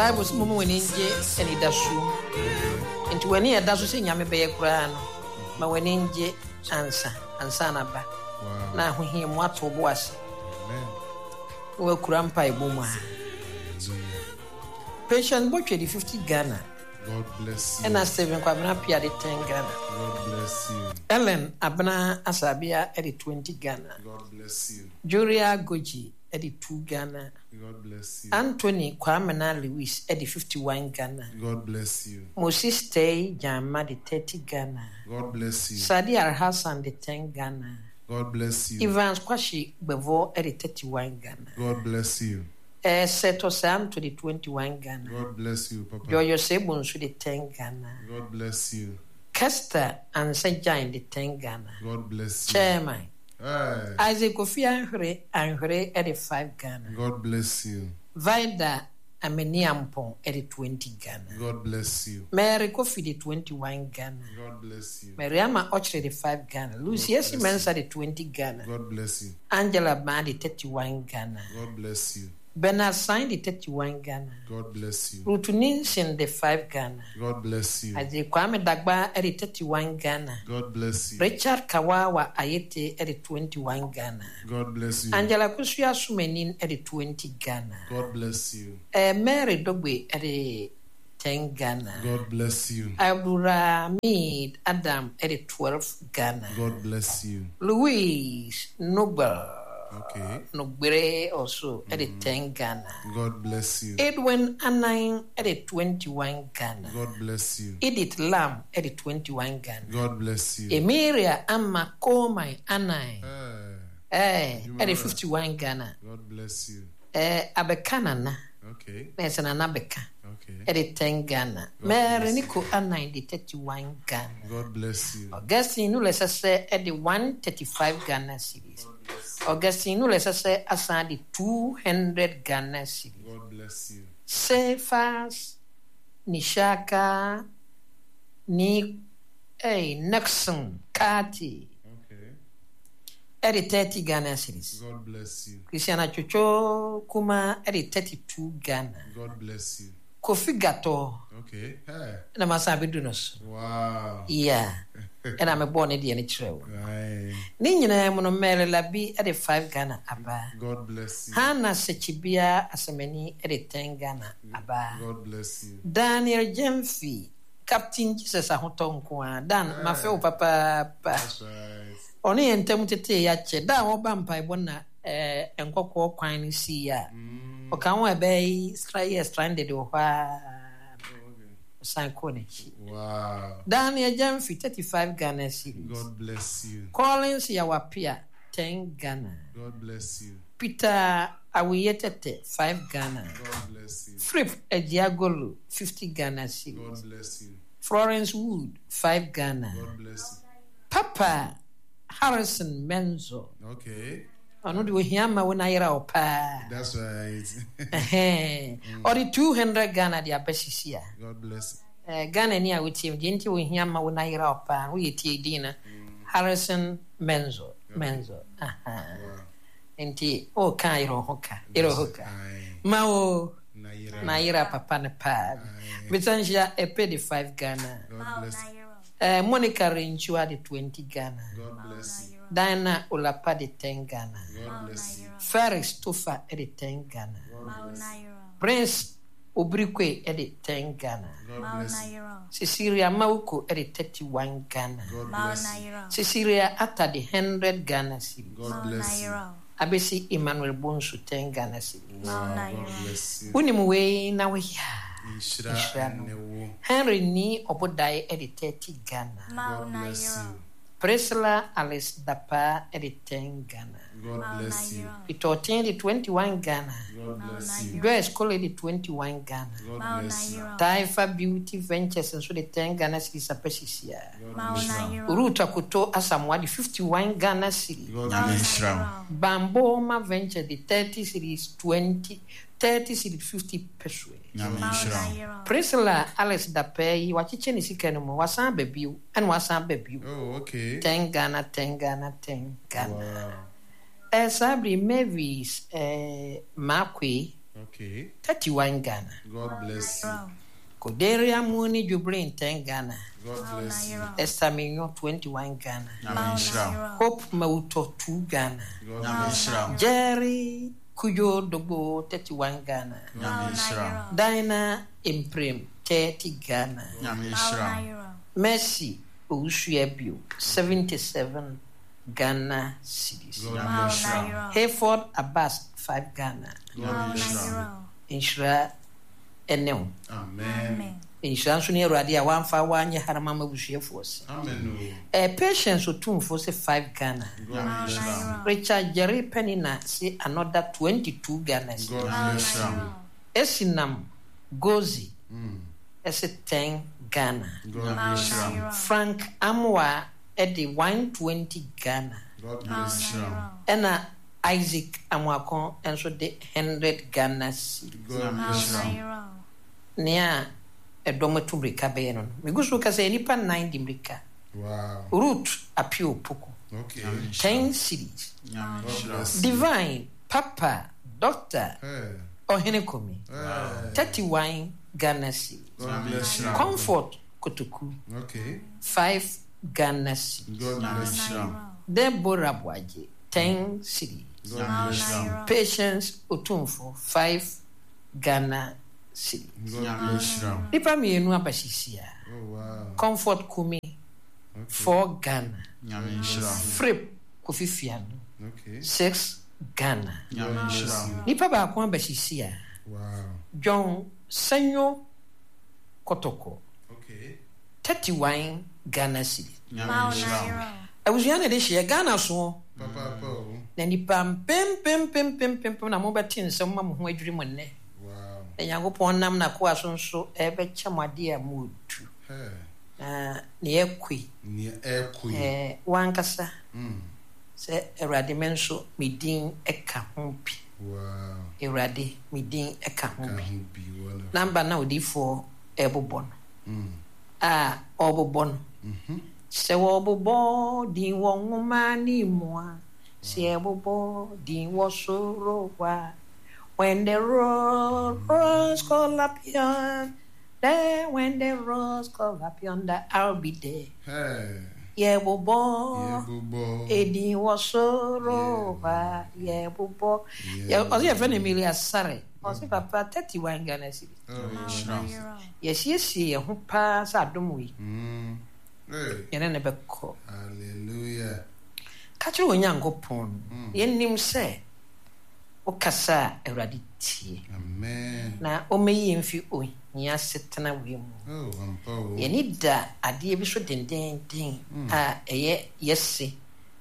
Bible sɛ moma w'ani ngye anidasoɔ mu. Nti w'ani a ɛda so sɛ Nyame bɛyɛ koraa no, ma w'ani ngye ansa, ansa na ba. Na ahohia mu ato wo bo ase. Na wakura mpaebɔ mu a. Patience Botwe de 50 Ghana. God bless you. Ɛna Stephen Kwabena Appiah de 10 Ghana. God bless you. Ellen Abena Asabea de 20 Ghana. God bless you. Julia Goji de 2 Ghana. God bless you. Anthony Kwamena Lewis de 51 Ghana. God bless you. Moses Tei Gyamma de 30 Ghana. God bless you. Sadi Alhassan de 10 Ghana. God bless you. Evans Kwashi Gbevor de 31 Ghana. God bless you. Seto Santo de 21 Ghana. God bless you, Papa. Joyo Sebo nso de 10 Ghana. God bless you. Kester Ansah Gyan de 10 Ghana. God bless you. Chairman. Hey. Isaac Kofi Anhwere Anhwere de 5 Ghana. God bless you. Vida Ameniampong de 20 Ghana. God bless you. Mary Kofi de 21 Ghana. God bless you. Mariama Ochre de 5 Ghana. Lucy Esi Mensah de 20 Ghana. God bless you. Angela Baa de 31 Ghana. God bless you. Bernard Sain de 31 Ghana. God bless you. Ruth Ninsin de 5 Ghana. God bless you. Isaac Kwame Dagba de 31 Ghana. God bless you. Richard Kawawa Ayete de 21 Ghana. God bless you. Angela Kusua Sumenin de 20 Ghana. God bless you. Mary Dogbe de 10 Ghana. God bless you. Abdulhamid Adam de 12 Ghana. God bless you. Louis Nobel. Okay. Nogbere also de 10 Ghana. God bless you. Edwin Anan de 21 Ghana. God bless you. Edith Lam de 21 Ghana. God bless you. Emiria Ama Komai Anan. Hey. Eh, de 51 Ghana. God bless you. Eh, Abeka Nana. Okay. Na ɛsɛ Nana Beka. Okay. De 10 Ghana. Mary Nico Anan de 31 Ghana. God bless you. Augustine Nule Sese de 135 Ghana cedis. Augustine Nule Sese asan de 200 Ghana cedis. God bless you. Cephas Nishaka ni hey, Nixon Kati. Okay. Ɛde 30 Ghana cedis. God bless you. Christiana Chocho Kuma ɛde 32 Ghana. God bless you. Kofi Gato. Okay. Hey. Ɛna masan abɛdu no so. Wow. Yeah. Ɛna mebɔɔ ne deɛ no kyerɛ wo. Right. Ne nyinaa mu no Mary Labi ɛde 5 Ghana aba. God bless you. Hannah Sechibia Asemani ɛde 10 Ghana aba. God bless you. Daniel Jemfi, Captain Jesus Ahotɔ nko ara. Dan, mafe wo papaapa. That's right. Ɔne yɛn ntam tetee yɛakyɛ. Da a wɔba mpaebɔ na eh, nkɔkɔɔ kwan no sii a, ɔka ho a ɛbɛyɛ yɛ stranded wɔ hɔ a. Ɔsan kɔɔ n'akyi. Wow. Daniel Jemfi, 35 Ghana cedis. God bless you. Collins Yawapia, 10 Ghana. God bless you. Peter Awiyetete, 5 Ghana. God bless you. Flip Ejiagolu, 50 Ghana cedis. God bless you. Florence Wood, 5 Ghana. God bless you. Papa Harrison Menzo. Okay. Ɔno de ohia ma wo na ayera wo paa. That's right. Ɔde 200 Ghana de aba sisi a. God bless. Ghana ni a wotie mu deɛ nti ohia ma wo na ayera wo paa. Woyɛ tie din no. Harrison Menzo. Menzo. Aha. Nti o ka ayera ho ka. Ayera ho ka. Ma wo na ayera papa ne paa. Bitanhyia epe de 5 Ghana. God bless. Monica Renchua de 20 Ghana. God bless you. Diana Olapa de 10 Ghana. God bless you. Ferris Tofa de 10 Ghana. God bless you. Prince Obrikwe de 10 Ghana. God bless you. Cecilia Mauko de 31 Ghana. God bless you. Cecilia Atta de 100 Ghana cedis. God bless you. Abesi Emmanuel Bonsu 10 Ghana cedis. Wow, God bless you. Unim wei na we ya. Nhyira ne wo. Henry ni Obodai de 30 Ghana. God bless you. Priscilla Alice Dapa de 10 Ghana. God bless you. Peter de 21 Ghana. God bless you. Joyce Cole de 21 Ghana. God bless you. Taifa Beauty Ventures nso de 10 Ghana cedis apɛsisia. God bless you. Ruth Akoto Asamoah de 51 Ghana cedis. God Nyame bless you. nhyira wo. Bamboma Venture de 30 cedis 20 30 cedis 50 pesewas. Nyame nhyira wo. Priscilla Alice Dapa yi wakyekyɛ ne sika no mu wasan aba bio ɛna wasan aba bio. Oh, okay. 10 Ghana 10 Ghana 10 Ghana. Wow. Saa bere Mavis Makwe Okay. 31 Ghana. God bless you. Koderia Muni Jubrin 10 Ghana. God bless you. Esther Minyo 21 Ghana. Nyame nhyira wo. Hope Mawuto 2 Ghana. God Nyame bless nhyira wo. Jerry Kujo Dogbo 31 Ghana. Nyame nhyira wo. Dinah Imprem 30 Ghana. Nyame nhyira wo. Mercy Owusu-Abio 77 Ghana cedis. God Nyame bless nhyira wo. Hayford Abbas 5 Ghana. God bless you. Nhyira ne wo. Amen. Nhyira nso ne Awurade a wamfa wo anyɛ harama ma abusuafoɔ se. Amen o. Eh, Patience Otumfoɔ se 5 Ghana. God bless you. Richard Jerry Penina se another 22 Ghana cedis. God bless you. Esinam Gozi se 10 Ghana. God bless you. Frank Amoah de 120 Ghana. God bless you. Ɛna Isaac Amoako nso de 100 Ghana cedis. God bless you. Nea ɛdɔm atu mmirika bɛyɛ no no, megu so reka sɛ nnipa nnan di mmirika. Wow. Ruth Appiah Opoku, Okay. 10 cedis. God bless you. Divine Papa Doctor Hey. Ɔhene Komi, Hey. 31 Ghana cedis. God bless you. Comfort Kotoku, Okay. 5 Ghana cedis. God bless you. Deborah Boagye, 10 cedis. God bless you. Patience Otumfo, 5 Ghana cedis. God bless you. Nnipa mmienu aba sisi a. Oh wow. Comfort Kumi, Okay. 4 Ghana. Frip Kofi Fianu, Okay. 6 Ghana. God bless you. Nipa baako aba sisi a. Wow. John Senyo Kotoko, Okay. 31 Ghana cedis. Abusua na ɛde hyeɛ Ghana soɔ. Papa pa o. Na nipa mpempempempempempem na mobɛte nsɛm ma mo ho adwiri mo nnɛ. Wow. Na Nyankopɔn nam n'akoa so nso ɛbɛkyɛ mo adeɛ a moretu. Hey. Na nea ɛkɔ yi, Nea ɛkɔ yi. ɛɛ, w'ankasa Mm. sɛ Awurade me nso me din ka ho bi. Wow. Awurade me din ka ho Ka bi. ho bi wonderful. Namba na odiyifoɔ ɛrebobɔ no. Mm. A ɔrebobɔ no. Mhm. Sɛ wɔbobɔ din wɔ nwoma ne mu a, sɛ yɛbobɔ din wɔ soro hɔ a, when the rose call up yonder, when the rose call up yonder, I'll be there. Hey. Yɛbobɔ Yɛbobɔ. edin wɔ soro hɔ a, yɛbobɔ. Ɔsɛ yɛfrɛ no Emilia Sare. Ɔsɛ papa 31 Ghana cedis. Oh, Yɛsiesie yɛn ho paa sɛ adom wei. Mm. Hey. Yɛne ne bɛkɔ. Hallelujah. Ka kyerɛ Onyankopɔn. Yɛnim sɛ wokasa a Awurade tie. Amen. Na ɔmmɛyi yɛn mfi ohia setena wei mu. Oh, ampa o. Yɛni da adeɛ bi so dendenden a ɛyɛ yɛse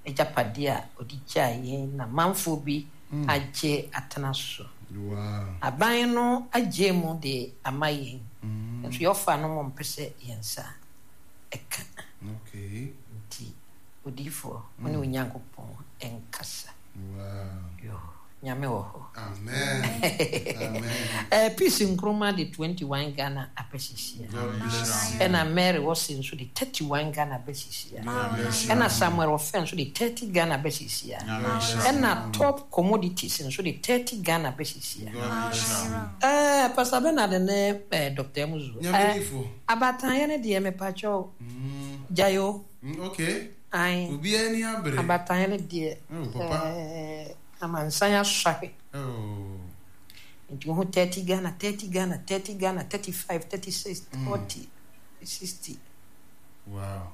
agyapadeɛ a ɔde gyaa yɛn na manfoɔ bi agye atena so. Wow. Aban no agye mu de ama yɛn. Nso yɛɔfa no mo mpɛ sɛ yɛn nsa ɛka. Okay. Nti odiyifoɔ wo ne Onyankopɔn ɛnkasa. Wow. Yo, Nyame wɔ hɔ. Amen. Amen. Peace Nkrumah de 21 Ghana abɛsisia. God bless you. Ɛna Mary Wɔse nso de 31 Ghana abɛsisia. God bless you. Ɛna Samuel Ɔfɛ nso de 30 Ghana abɛsisia. God bless you. Ɛna Top Commodities nso de 30 Ghana abɛsisia. God bless you. Pastor Bernard ne Dr. Emuzu. Nyame difo. Abatanyɛ ne deɛ mepakyɛw. Gyayo. Okay. Ae. Obiara ni abere. Abatanyɛ ne deɛ. Oh, papa. Amansan asɔre. Oh. Nti wohu 30 Ghana, 30 Ghana, 30 Ghana, 35, 36, 40, 60. Wow.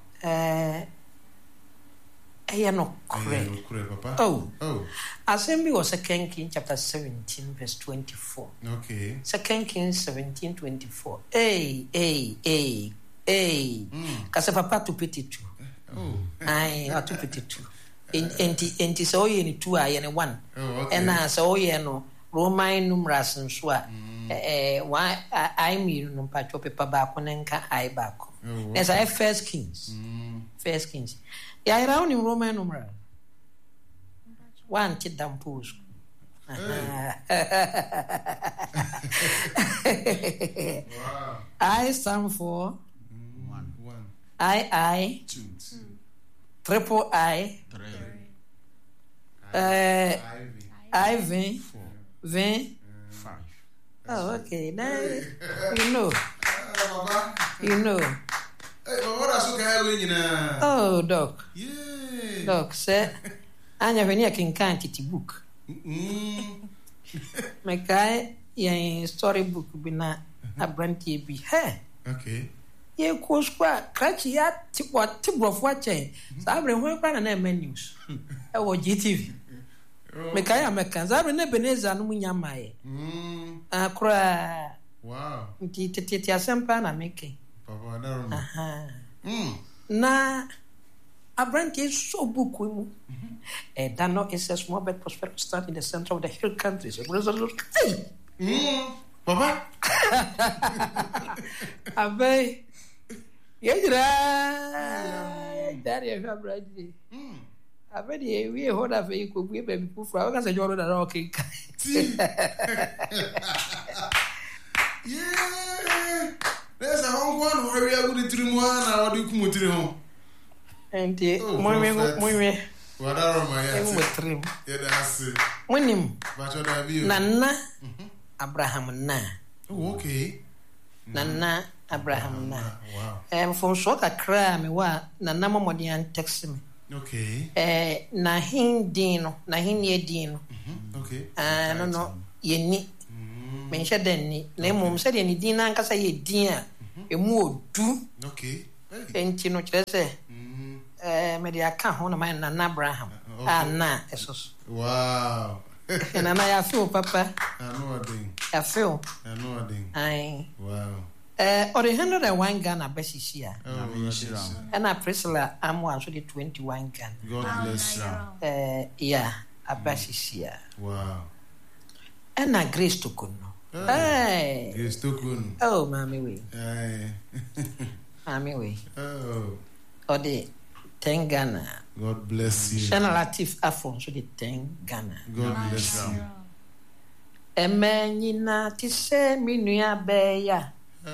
Ɛyɛ nokorɛ. Ɛyɛ nokorɛ, papa. Oh. Oh. Asɛm bi wɔ 2 Kings chapter 17 verse 24. Okay. 2 Kings 17 24. Hey, hey, hey, hey. Kasa papa to pity tu. Oh. Aye, ato pity tu. Enti enti sɛ ɔyɛ ne tu a yɛ ne one. Oh, okay. Ɛna sɛ ɔyɛ no Roman numerals nso a one I mmienu no mpatwɔ pepa baako ne nka I baako. Oh, Na sɛ First Kings. First Kings. Yɛayera wo nim Roman numeral. Wante da mpo wɔ sukuu. Wow. I stand for 1, 1. I 2, triple I 3, Ivy. I V 4, V 5. Oh, okay. Then you know. Ah, papa. You know. Hey, papa, what so kai we nyina. Oh, doc. Yeah. Doc, sɛ anya hwɛ ne yɛkenkan tete book. Mekae yɛn story book bi na aberanteɛ bi hɛ. Okay. Yɛkɔ sukuu a krakye yɛ ate wɔte borɔfo akyɛn. Saa bere ho koraa na na ɛma news ɛwɔ GTV. Mekae a mɛka. Saa bere na Ebenezer no mu nya mmaeɛ. Ah, koraa. Wow. Nti tetete asɛm paa na meka yi. Papa, na Aha. Na aberanteɛ sɔ book mu. Ɛda no is a small but prosperous town in the center of the hill countries. Hey! Papa. Abɛn yɛn nyinaa yɛgya deɛ hwɛ aberanteɛ. Afei deɛ ewie hɔ na afei kɔbue baabi foforɔ a wɔka sɛ nyɛ ɔno na na ɔkenkan. Na sɛ hɔ nko ara na wɔawe agu ne tiri mu ara na wɔde kum tiri ho. Nti monwe monwe. Wadaroma yɛ ate. Mo tirim. Yɛda ase. Monim. Bakyɛ daabi o. Nana Abraham na. Oh, okay. Nana Abraham na. Wow. Eh, mfomsoɔ kakra a mewɔ a Nana mmɔ mmɔden antɛksi me. Okay. Eh, n'ahen din no, n'ahennie din no. Okay. Ah, no no, yɛnni. Menhyɛ da nni. Na mmom sɛdeɛ ne din no ankasa yɛ din a ɛmu ɔdu. Okay. Hey. Nti no kyerɛ sɛ eh, mede aka ho na mayɛ Nana Abraham a na ɛso so. Wow. Nana yɛafe wo papa. Ano ɔden. Yɛafe wo. Ano ɔden. Ae. Wow. Eh, ɔde 101 Ghana bɛsisi a. Oh, nhyira wo. Ɛna Priscilla Amoah nso de 21 Ghana. God bless you. Eh, yeah, aba sisi a. Wow. Ɛna Grace Tokunno. Hey. Grace Tokunno. Oh, maame wei. Hey. Maame wei. Oh. Ɔde 10 Ghana. God bless you. Shana Latif Afo nso de 10 Ghana. God bless you. Ɛmɛ nyina te sɛ me nua bɛɛya. Hey.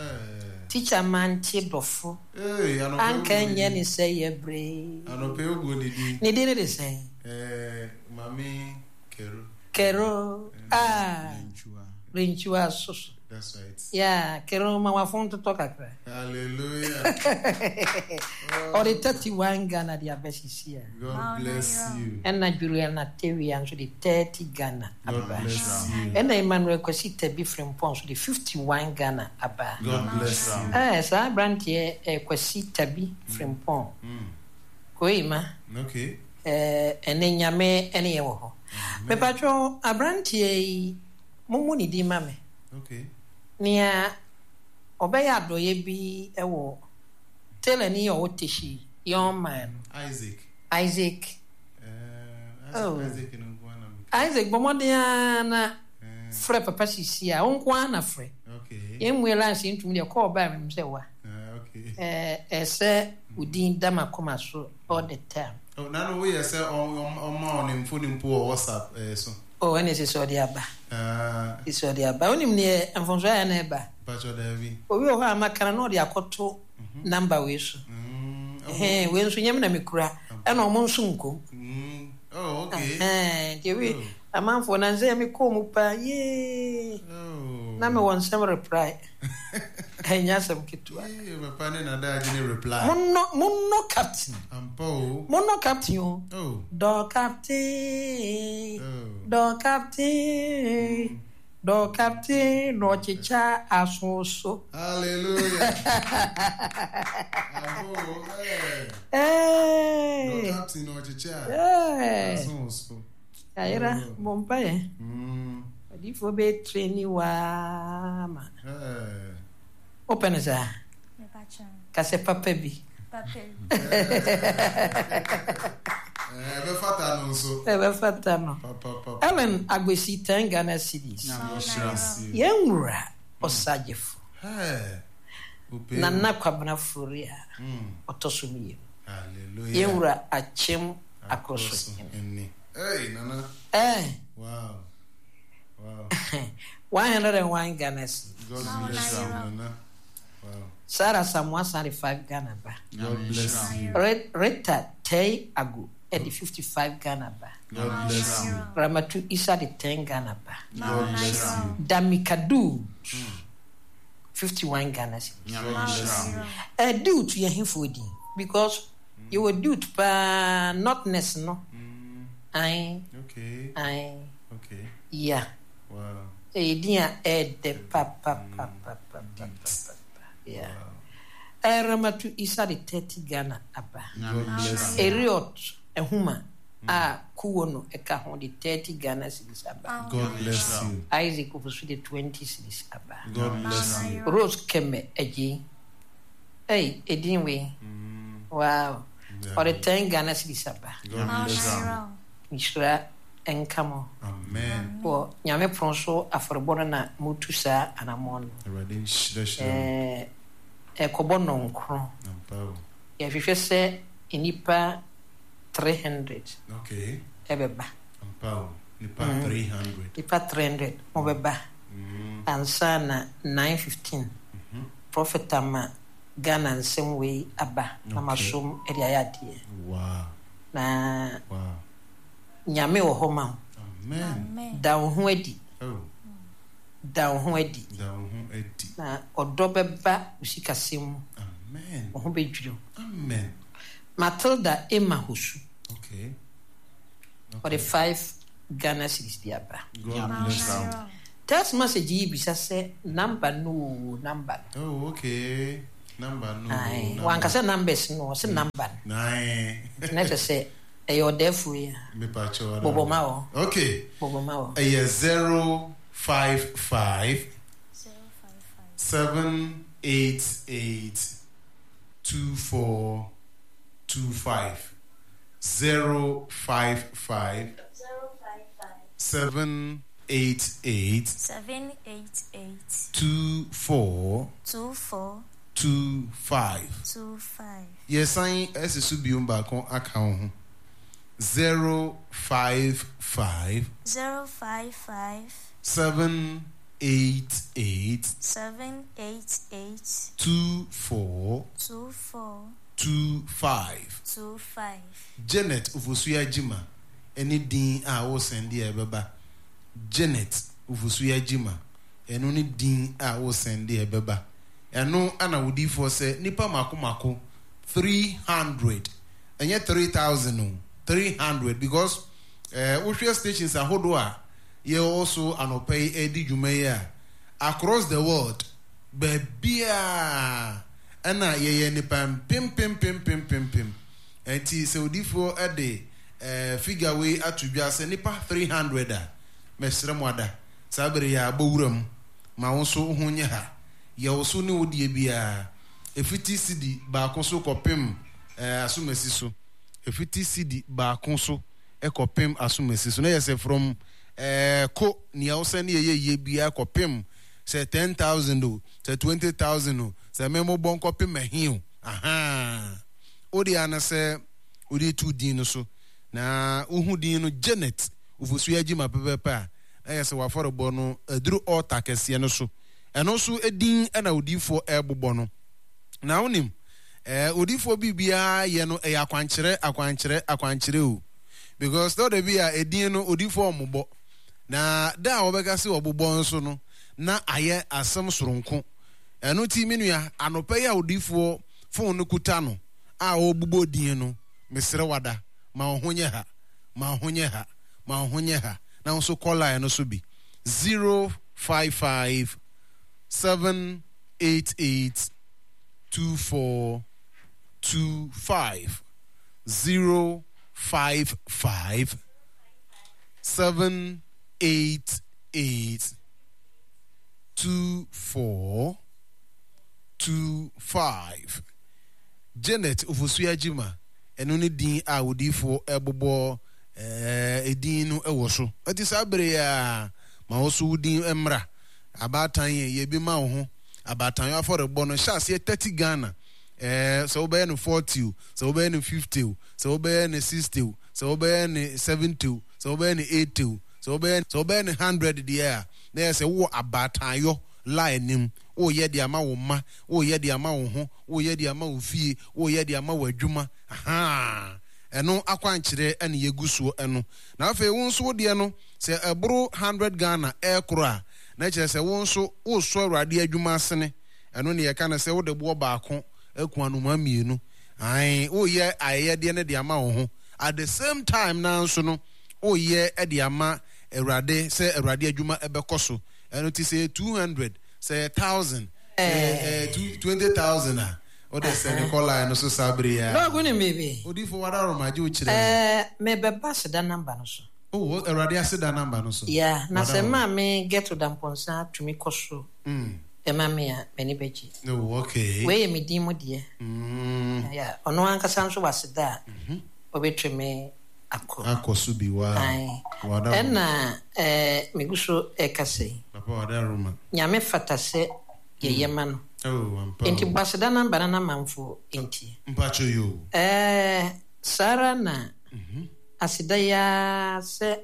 Teacher mante dɔfo. Hey, anɔpɛ Anka ogu ne nyɛ ne din. sɛ yɛ bere. Anɔpɛ ogu ne din. Ne din ne de sɛn? Eh, Mami Kero. Kero. Ah. Renchua. Renchua soso. That's right. Yeah, Kero ma wafon totɔ kakra. Hallelujah. Ɔde 31 Ghana de abɛsisi a. God bless you. Ɛna Juliana Tewia nso de 30 Ghana God aba. bless you. Ɛna Emmanuel Kwasi Tabi Frimpong nso de 51 Ghana aba. God bless you. Eh, saa aberanteɛ eh, Kwasi Tabi Frimpong. Koima. Okay. Eh, ɛnɛ Nyame ɛne yɛ wɔ hɔ. Mepatwɔ aberanteɛ yi, mommu ne din ma me. Okay. Nea ɔbɛyɛ adɔeɛ bi ɛwɔ Taylor ni ɔwɔ Teshie, young man. Isaac. Isaac. Isaac, Oh. Isaac no nko ara na meka. Isaac bɔ mmɔden ara na Eh, frɛ papa sisi a, wo nko ara na frɛ. okay. Yɛn mmue lines yi ntumi deɛ kɔɔ baa menim sɛ wa. Ah, okay. Eh, ɛsɛ wo din da m'akoma so all the time. Oh, na no woyɛ sɛ ɔma ɔne mfoni mpo wɔ WhatsApp so. Oh, ɛne sɛ sɛ ɔde aba. Ah, Sɛ sɛ ɔde aba. Wonim neɛ mfomsoɔ ayɛ na ɛba. Mpakyɛ daabi. Obi wɔ hɔ a maka no na ɔde akɔto number wei so. Ɛhɛn, wei nso nyɛ me na mekura. Ɛna ɔmo nso nkom. Oh, okay. Ɛhɛn, nti ebi amanfoɔ na nsɛ mekɔɔ mu paa yee. Oh. Na mewɔ nsɛm reply. Ɛnyɛ asɛm ketewa. Yee, papa ne nada agye ne reply. Monnɔ monnɔ captain. Ampa o. Monnɔ captain o. Oh. Dɔ captain. Oh. Dɔ captain. Dɔ captain na ɔkyekyɛ aso so. Hallelujah. Ampa o. Eh. Hey. Dɔ captain na ɔkyekyɛ Hey. aso so. Ayera, bɔ mpaeɛ. Adiyifoɔ bɛyɛ training waa ma. Eh. Wopɛ no saa? Ka sɛ papa bi. Papa bi. Eh, ɛbɛfata no nso. Ɛbɛfata no. Papa, papa. Ellen Agbesi 10 Ghana cedis. Nyame nhyira wo. Yɛn wura ɔsagyefo. Hey. Ope. Nana Kwabena Fori a ɔtɔ so mmienu. Hallelujah. Yɛn wura Akyem Akroso hene. Hene. Hey, Nana. Eh, Wow. Wow. 101 Ghana cedis. God bless you, Nana. Wow. Sarah Samoa Sare 5 Ghana ba. God bless you. Rita Tei Agu. de 55 Ghana ba. God bless you. Ramatu Isa de 10 Ghana ba. God bless you. Dami Kadu 51 Ghana cedis. God bless you. Dude yɛ hefoɔ din because yɛwɔ dude paa notness no. Ae. Okay. Ae. Okay. Yeah. Wow. Ɛyɛ din a ɛɛdɛ papapapapapapa. Yeah. Ramatu Isa de 30 Ghana aba. God bless you. Eriot Ehuma a kuo no ɛka ho de 30 Ghana cedis aba. God bless you. Isaac Ofosu de 20 cedis aba. God bless you. Rose Keme Agye. Hey, edin wei. Wow. Ɔde 10 Ghana cedis aba. God bless you. Nhyira nka mo. Amen. Wɔ Nyame pono so afɔrebɔ no na motu saa anammɔn no. Awurade nhyirahyira mo. Ɛkɔbɔ nnɔnkron. Ampa o. Yɛhwehwɛ sɛ nnipa 300 Okay. ɛbɛba. Ampa o. Nipa 300. Nnipa 300 mobɛba. Ansa na 9:15 Prophet ama Ghana nsɛm wei aba na masom de ayɛ adeɛ. Wow. Na Wow. Nyame wɔ hɔ ma wo. Amen. Da wo ho adi. Oh. Da wo ho adi. Da wo ho adi. Na ɔdɔ bɛba wo sikasɛm mu. Amen. Wo ho bɛdwiri wo. Amen. Matilda Emma Hosu. Okay. Ɔde 5 Ghana cedis de aba. God bless you. Text message yi bisa sɛ number no o number no. Oh, okay. Number no. Aye. Wankasa numbers no, ɔsɛ number no. Nine. Nti na kyerɛ sɛ ɛyɛ ɔdɛɛfoɔ yi a. Mepa kyɛw. Bobɔ ma wɔ. Okay. Bobɔ ma wɔ. Ɛyɛ 055 788 2425 055 788 788 24 24 25. 25. Yɛsan ɛsi so bio baako aka wo ho. 055 055 788 788 24 24 25. 25. Janet Ofosu Jima ɛne din a wosɛnde a ɛbɛba. Janet Ofosu Jima ɛno ne din a wosɛnde a ɛbɛba. Ɛno ana wodiifoɔ sɛ nipa mako mako 300 ɛnyɛ 3000 o 300 because wohwɛ stations ahodoɔ a yɛwɔ so anɔpa yi ɛdi dwuma yi a across the world baabiaa ɛna yɛyɛ nipa mpempempempempempem. Enti sɛ odiifoɔ ɛde figure wei ato dwa sɛ nipa 300 a mɛsrɛ mo ada saa bere yɛ abɔ wura mu ma wo nso ho nyɛ ha. Yɛwo so ne wo deɛ biara ɛfiti sidi baako so kɔpem asomasi so. Ɛfiti sidi baako so kɔpem asomasi so. Na yɛ sɛ from ko nea wo sɛ ne yɛyɛ yie biara kɔpem sɛ 10,000 o, sɛ 20,000 o, sɛ mɛmobɔ nkɔpem ɛhe o. Aha. Wo deɛ ana sɛ wode tu din no so. Na wohu din no Janet Ofosu Agyima pɛpɛpɛ a, na yɛ sɛ wafɔrebɔ no aduru altar kɛseɛ no so. Ɛno nso din na odiifoɔ ɛrebobɔ no. Na wonim, odiifoɔ biribiara yɛ no ɛyɛ akwankyerɛ, akwankyerɛ, akwankyerɛ o. Because tɔ da bi a edin no odiifoɔ ɔmmobɔ. Na da a wɔbɛka sɛ ɔbobɔ nso no, na ayɛ asɛm soronko. Ɛno ti me nua, anɔpa yi a odiifoɔ phone no kuta no a ɔrebobɔ din no, mesrɛ wada, ma wo ho nyɛ ha, ma wo ho nyɛ ha, ma wo ho nyɛ ha. Na wo nso call line no so bi. 055 788 2425 055 788 2425. Janet Ofosu Agyima ɛno ne din a odiifoɔ ɛbobɔ edin no ɛwɔ so. Ɛti saa bere a ma wo so wo din mmra. Abaatan yɛ yɛ bi ma wo ho. Abaatan afɔrebɔ no hyɛ aseɛ 30 Ghana. Sɛ wobɛyɛ no 40 o, sɛ wobɛyɛ no 50 o, sɛ wobɛyɛ no 60 o, sɛ wobɛyɛ no 70 o, sɛ wobɛyɛ no 80 o, sɛ wobɛyɛ no 100 deɛ a, na yɛ sɛ wowɔ abaatanyɔ line nim. Woyɛ de ama wo mma, woyɛ de ama wo ho, woyɛ de ama wo fie, woyɛ de ama wo adwuma. Aha. Ɛno akwankyerɛ ɛne yɛgu soɔ ɛno. Na afei wo nso wo deɛ no, sɛ ɛboro 100 Ghana ɛrekoro a, na kyerɛ sɛ wo nso woresɔ Awurade adwuma asene. Ɛno ne yɛka no sɛ wode boɔ baako aku anomaa mmienu. Ae, woreyɛ ayɛyɛdeɛ no de ama wo ho. At the same time no ara nso no, woreyɛ de ama Awurade sɛ Awurade adwuma ɛbɛkɔ so. Ɛno nti sɛ ɛyɛ 200, sɛ ɛyɛ 1000, sɛ ɛyɛ 20,000 a, wode sɛne kɔ line no so saa bere yi ara. Dɔg, wonim biribi? Odiyifo Wadaroma, agye wo kyerɛ me. Ɛɛ, mebɛba aseda number no so. Oh, Awurade aseda number no so. Yeah, na sɛ Wadaroma. Maame Gertrude Amponsah tumi kɔ so ma me a, m'ani bɛgye. Oh, okay. Wei yɛ me din mu deɛ. Yeah, ɔno ankasa nso wɔ aseda a ɔbɛtumi akɔ. Akɔ so bi, wow. Ae. Wadaroma. Ɛna ɛɛ, megu so ɛrekasa yi. Papa Wadaroma. Nyame fata sɛ yɛyɛ ma no. Oh, ampa Enti o. bɔ aseda number no na amanfoɔ ntie. Mpakyɛ yoo. Ɛɛ, saa ara na aseda yi ara sɛ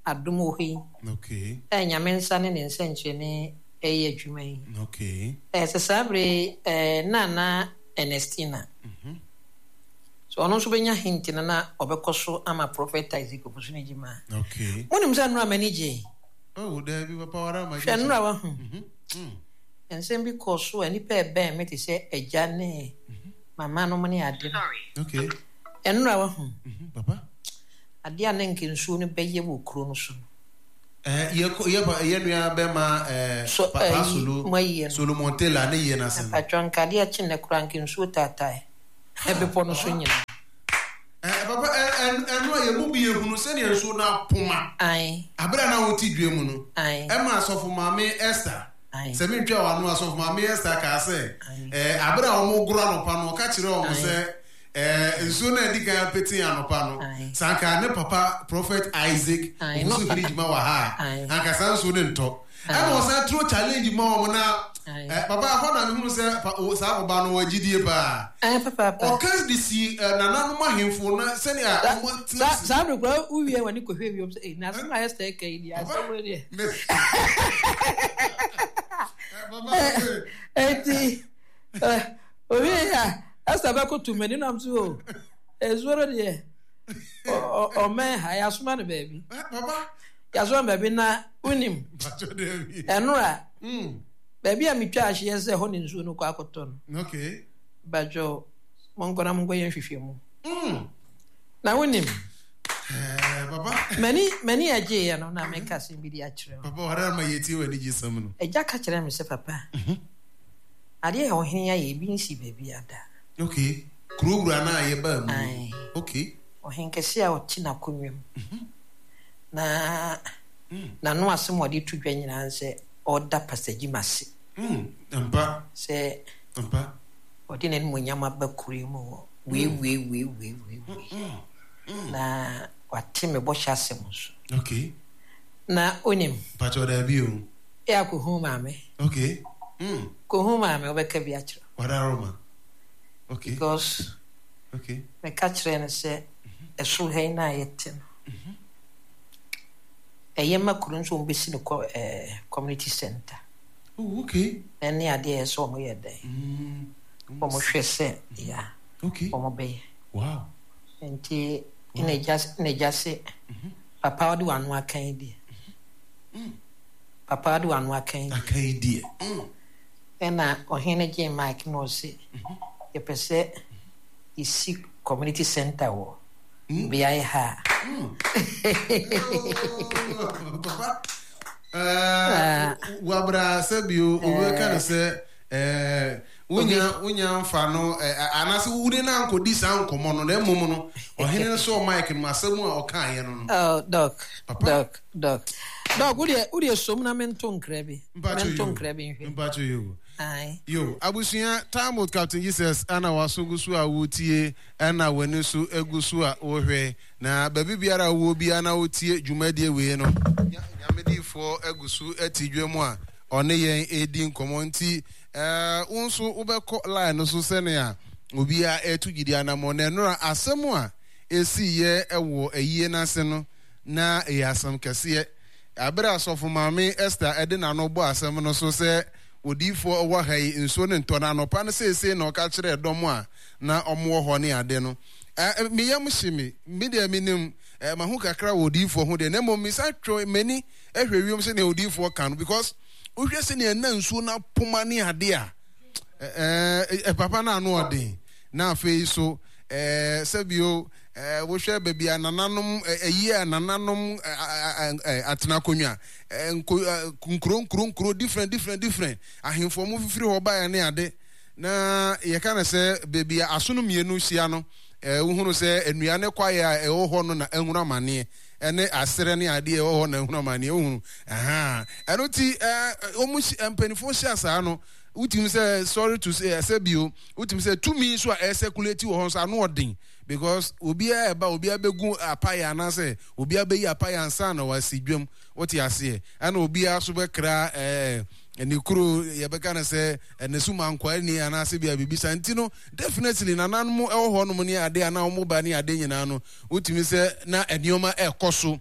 adom wɔ hɔ yi. Okay. Ɛɛ, Nyame nsa ne ne nsɛnkyerɛnne reyɛ adwuma yi. Okay. Ɛɛ, sɛ saa bere yi, ɛɛ, Nana Ernestina. So ɔno nso bɛnya hint no na ɔbɛkɔ so ama Prophet Isaac Ofosu ne gyima. Okay. Monim sɛ nnora m'ani gyee. Oh, daabi, papa wara ma Hwɛ nnora wahu. Nsɛm bi kɔɔ so a nnipa ɛbɛn me te sɛ agya ne mama nom ne ade no. Okay. Nnora wahu. Papa. Adeɛ a na nka nsuo no bɛyɛ wɔ kuro no so no. Eh, yɛ kɔ yɛ pa yɛ nua bɛma eh, So, papa eh, Solo mo ayie no. Solomon Taylor ne yie n'ase no. Mpatwɔ nka adeɛ kye nnɛ koraa nka nsuo taatae bepɔ no so nyinaa. Eh, papa eh, eh, ɛno a yɛn mu bi ehunu sɛdeɛ nsuo no apoma. Ae. Abere a na wote dua mu no. Ae. Ɛma asɔfo maame Esther. Ae. Sɛ mentwa wɔn ano asɔfo maame Esther kaa sɛ, Ae. eh, abere a wɔn goro anɔpa no ɔka kyerɛ wɔn Ae. sɛ. Eh, nsuo no a ɛdi kan petee anɔpa no, Aye. sɛ anka ne papa Prophet Isaac Aye, Owusu no. Hene Gyima wɔ ha a, Aye. anka saa nsuo no ntɔ. Aye. Ɛna ɔsan turo challenge ma wɔn na, Aye. eh, papa ɛhɔ na mehunu sɛ pa, o, saa ɔba no wɔ gyidie paa. Aye, papaapa. Ɔka de si eh, nananom ahemfo na sɛnea Sa- wɔn tena sa- ase. saa bere koraa wowie w'ani kɔhwɛ wiem sɛ "Ei, na asɛm a Esther ka yi deɛ Papa, asɛm wei deɛ me- Eh, papa, eh, enti eh, owie a Esther bɛkoto m'ani nam so o nsuo no deɛ ɔmɛn ha yɛasoma no baabi yɛasoma no baabi na wonim ɛnora baabi a metwa ahyeɛ sɛ hɔ ne nsuo no kɔ akɔtɔ no badwo monkɔ na monkɔyɛ nhwehwɛ mu na wonim m'ani m'ani agyeeɛ no na meka asɛm bi de akyerɛ wo agya ka kyerɛ me sɛ papa Adeɛ a ɔhene ayɛ ebi nsi baabiara da. Okay, kuro wura no a yɛbaa mu no. Ae. Okay. Ɔhenkɛseɛ a ɔte n'akonnwa mu. Na n'ano asɛm a ɔde to dwa nyinaa ne sɛ ɔreda Pastor Jim ase. Ampa. Sɛ Ampa. ɔde n'animuonyam aba kuro yi mu wɔ wei wei wei wei wei wei. Na wate me bɔhyɛ asɛm nso. Okay. Na onim. Mpakyɛw daabi o. Yɛ a kɔhu maame. Okay. Mm. Kɔhu maame wobɛka bi akyerɛ. Wadaroma. Okay. Because. Okay. Meka kyerɛ no sɛ ɛsoro ha yi na yɛte no. Ɛyɛ ma kuro nso wɔn bɛsi no kɔ ɛɛ community center. Oh, okay. Ɛne adeɛ yɛ sɛ wɔn yɛ dɛn. Wɔn hwɛ sɛ ya. Okay. Wɔn bɛyɛ. Wow. Nti ɛna egya ɛna egya se papa ɔde w'ano aka yi deɛ. Papa de w'ano aka yi deɛ. Aka yi deɛ. Ɛna ɔhene no gyee mic na ɔse yɛpɛ sɛ yɛsi community center wɔ beaeɛ ha a. Papa, wabra sɛ bio wobɛka no sɛ wonya wonya mfa no anaasɛ wode no ankɔdi saa nkɔmmɔ no na mmom no ɔhene no sɔɔ mic no mu asɛm a ɔkaeɛ no no. Oh, doc, Papa. doc, doc. Doc, wodeɛ wodeɛ som na mento nkra bi. Mpacho Mento yo. nkra bi nhwɛ. Mpacho yo. Ae. Yo, abusua, time with Captain Jesus ana w'aso gu so a wotie ɛna w'ani so gu so a wohwɛ. Na baabi biara a wowɔ biara na wotie dwumadie wei no, Nyame diifoɔ gu so te dwa mu a ɔne yɛn redi nkɔmmɔ. Nti eh, wo nso wobɛkɔ line no so sɛnea obiara ɛreto gyidi anammɔn. Na ɛnora asɛm a ɛsiiɛ wɔ ayie no ase no, na ɛyɛ asɛm kɛseɛ. Bere a Sɔfo Maame Esther de n'ano bɔɔ asɛm no so sɛ odiyifoɔ wɔ ha yi, nsuo no ntɔ, na anɔpa no seesei na ɔka kyerɛɛ dɔm a na wɔwɔ hɔ ne ade no. Me yam hye me. Me deɛ menim mahu kakra wɔ odiyifoɔ ho deɛ, na mmom mesan twe m'ani hwɛ wiem sɛdeɛ odiyifoɔ ka no, because wohwɛ sɛdeɛ na nsuo no apoma ne adeɛ a, ɛɛ papa no ano ɔden. Na afei so ɛɛ sɛbio ɛɛ wohwɛ baabi a nananom ɛyi a nananom atena akonnwa nko nkuro nkuro nkuro different different different ahemfo wɔn fifiri hɔ baeɛ ne ade. Na yɛka no sɛ baabi a asono mmienu hyia no, wohunu sɛ nnua ne kwaeɛ a ɛwɔ hɔ no na ahunu amaneɛ, ɛne aserɛ ne adeɛ ɛwɔ hɔ na ahunu amaneɛ, wohunu. Ɛhaa. Ɛno ti, wɔn mpanimfoɔ hyia saa no, wotumi sɛ sorry to say, ɛsɛ bio, wotumi sɛ tumi nso a ɛsɛkulati wɔ hɔ nso ano ɔden because obiara ɛba obiara bɛgu apaeɛ anaasɛ obiara bɛyi apaeɛ ansa na wasi dwam, wote aseɛ, ɛna obiara nso bɛkra ɛɛ ne kuro yɛbɛka no sɛ ne so mankwaa ni anaasɛ bia biribi saa nti no definitely nananom ɛwɔ hɔ nom ne ade anaa wɔn ba ne ade nyinaa no wotumi sɛ na nneɛma ɛkɔ so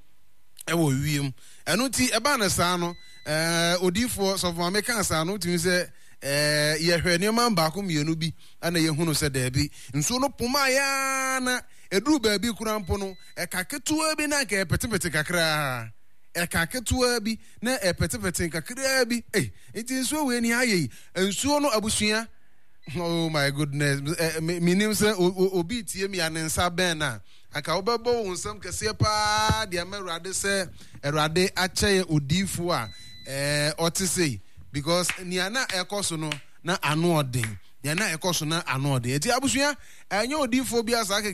ɛwɔ wiem. Ɛno nti ɛbaa no saa no ɛɛ odiifoɔ sɔfo maame kaa saa no wotumi sɛ ɛɛ yɛhwɛ nneɛma baako mmienu bi ɛna yɛhunu sɛ daabi nsuo no poma yaa na ɛduru baabi koraa mpo no ɛka ketewa bi na anka ɛpetepete kakraa ɛka ketewa bi na ɛpetepete kakraa bi. Ei, nti nsuo wei ni ayɛ yi. Nsuo no abusua. Oh my goodness. Eh, menim sɛ obi tie mi a ne nsa bɛn na anka wobɛbɔ wo nsɛm kɛseɛ paa de ama Awurade sɛ Awurade akyɛ yɛ odiifoɔ a eh, ɔte sei. Because nea na ɛkɔ so no na ano ɔden. Nea na ɛkɔ so na ano ɔden. Nti abusua, ɛnyɛ odiifoɔ bi asa kɛkɛ.